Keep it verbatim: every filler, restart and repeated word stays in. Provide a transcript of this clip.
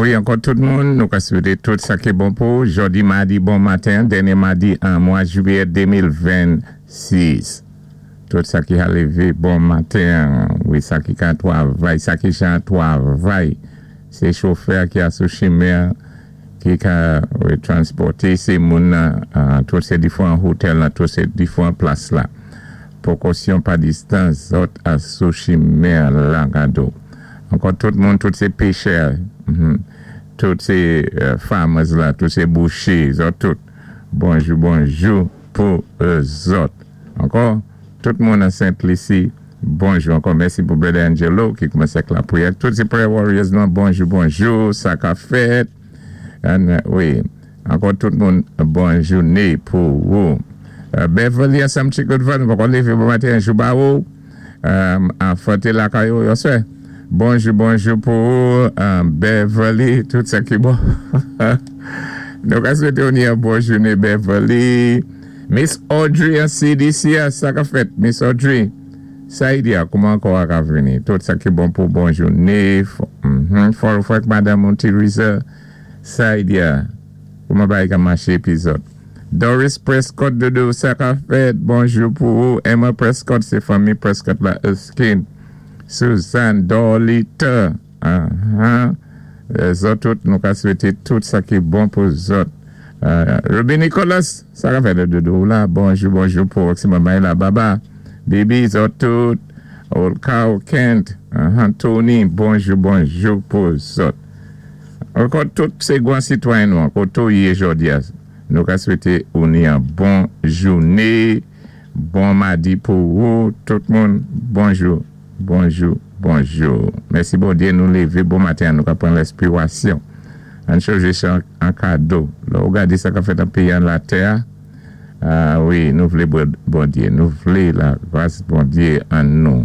Wi, ankò tout moun, nou ka swété tout sa ki bon pou jòdi madi bon maten, dènyé madi an mwa jwiyè de mil vennsis. Tout sa ki a lévé bon maten, wi, sa ki ka twavay, sa ki jan twavay, sé chofè ki a sou chimen, ki ka, wi, transpòté sé moun nan tout sé diféwan hotèl, nan tout sé diféwan plas la. Pwékosyon pa distans, zòt a sou chimen la gado. Ankò tout moun, tout sé péchè, tout sé farmers la, tout sé bouché, zòt tout. Bonjou, bonjou pou zòt. Ankò, tout moun an Saint Lucie, bonjou. Ankò mèsi pou Brother Angelo ki koumansé ak lapriyè. Tout sé prayer warriors nou, bonjou, bonjou, sa ka fèt. Wi, ankò tout moun, bon jouné pou ou. Beverly ansanm Chico-Van, ankò lévé bon maten, jou ba ou. An fòté lakay ou, yo swè. Bonjou, bonjou pou ou, Beverly, tout sa ki bon. Nou ka swété ou ni yon bon jouné, Beverly. Miss Audrey an C D C, sa ka fèt, Miss Audrey. Saïdia, kouman ankò a ka vini? Tout sa ki bon pou bon jouné. Fò fwèk Madame Teresa Saïdia, kouman bagay ka maché pi zòt? Doris Prescott, Dodo, sa ka fèt, bonjou pou ou. Emma Prescott, sé fanmi Prescott la, Erskine. Suzanne Dorlita, zòt tout nou ka swété tout sa ki bon pou zòt. Ruby Nicholas, sa ka fèt, Dodo la, bonjou, bonjou pou oksi mamay la, baba, Bibi, zòt tout, Olkao Kent, Tony, bonjou, bonjou pou zòt. Ankò tout sé gwan sitwayen nou, ankò tou yé jòdi a, nou ka swété ou ni an bon jouné, bon madi pou ou, tout moun, bonjou. Bonjou, bonjou. Mèsi Bondyé, nou lévé bon maten, nou ka pran lèspirasyon. An chanjé sa an kado. La ou gadé sa ka fèt an péyi an latè. Ah wi, nou vlé Bondyé, nou vlé la gras Bondyé an nou.